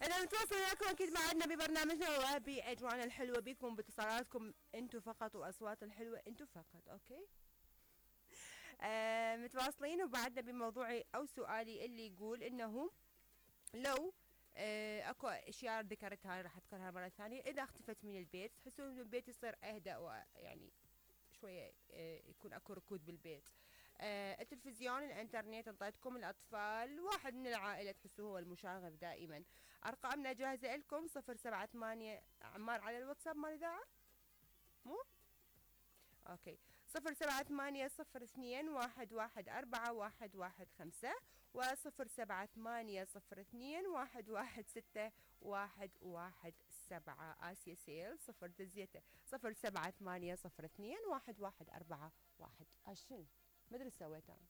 اذا متواصل وياكم اكيد معنا ببرنامجنا وباجواءنا الحلوه بكم باتصالاتكم انتم فقط واصوات الحلوه انتم فقط. اوكي. متواصلين وبعدنا بموضوعي او سؤالي اللي يقول انه لو اكو اشياء ذكرتها راح اذكرها مره ثانيه. اذا اختفت من البيت تحسون انه البيت يصير اهدأ ويعني شويه يكون اكو ركود بالبيت. التلفزيون، الانترنت، انطيتكم الاطفال، واحد من العائله تحسوه هو المشاغب دائما. ارقامنا جاهزه لكم 078 عمار على الواتساب مال الاذاعه مو اوكي 078 02 114 115 و078 آسيا سيل 078 02 114 شنو مدري سويت انا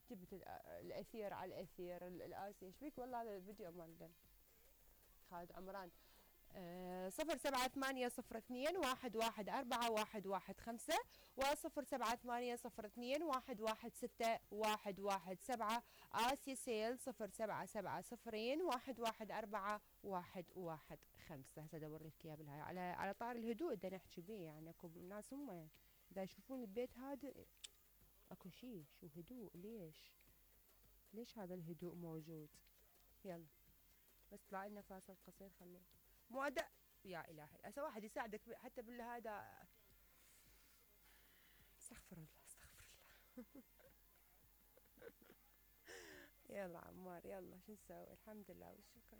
جبت الاثير على الاثير الاسيا ايش بيك والله هذا الفيديو مال خالد عمران. 078 02 114 115 و078 آسيا سيل 077 هسه ادور لك اياه بالهاي على طار الهدوء بدنا نحكي بيه يعني اكو ناس هم اذا يشوفون البيت هادئ اكو شيء شو هدوء ليش هذا الهدوء موجود. يلا بس طلع لنا فاصل قصير خليه مو أداء يا إلهي هسه واحد يساعدك حتى بالهذا. استغفر الله استغفر الله. يلا عمار يلا شو نسوي الحمد لله والشكر.